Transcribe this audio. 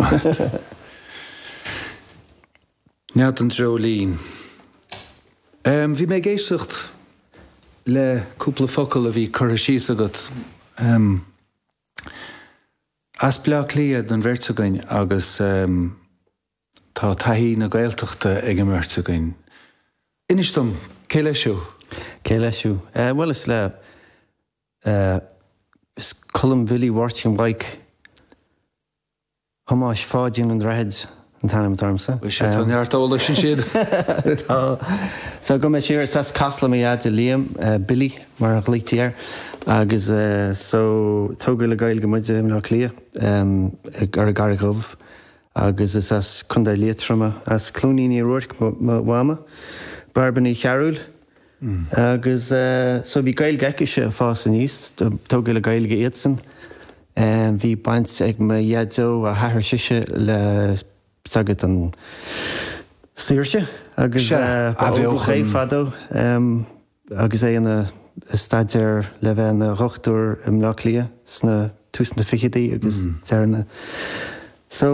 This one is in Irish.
Maith agat. Nead an Dreoilín. Bhí mé ag éisteacht le cúpla focal a bhí curtha síos agat. As Bleá Cliath don bheirt againn agus tá taithí na Gaeltachta ag an mbeirt againn. Inis dom, cé leis thú? Cé leis thú? Bhuel, is le, is Colm Bhilly Mháirtín Mhaidhc Thomáis Pháidín an Droichid an t-ainm atá ormsa. Bhuel, sea, tá neart eolais ansin. Tá. So, gabhfaidh mé siar, is as Casla mo dhaid, Liam, Billy mar a ghlaoití air, agus so, tógadh le Gaeilge muid i mBleá Cliath, ar an gCarraig Dhubh, agus is as Contae Liatroma, as Cluainín Uí Ruairc mo mhama, Bairbre Ní Chearúil. Agus so bhí Gaeilge aicise ag fás aníos, tógadh le Gaeilge iadsan. Bhí baint ag mo dhaideo, a hathair sise, le sagart an saoirse agus ba óglach é fadó agus é ina staidéar le bheith ina dhochtúir i mBleá Cliath sna tús na fichidí agus deireadh na. So.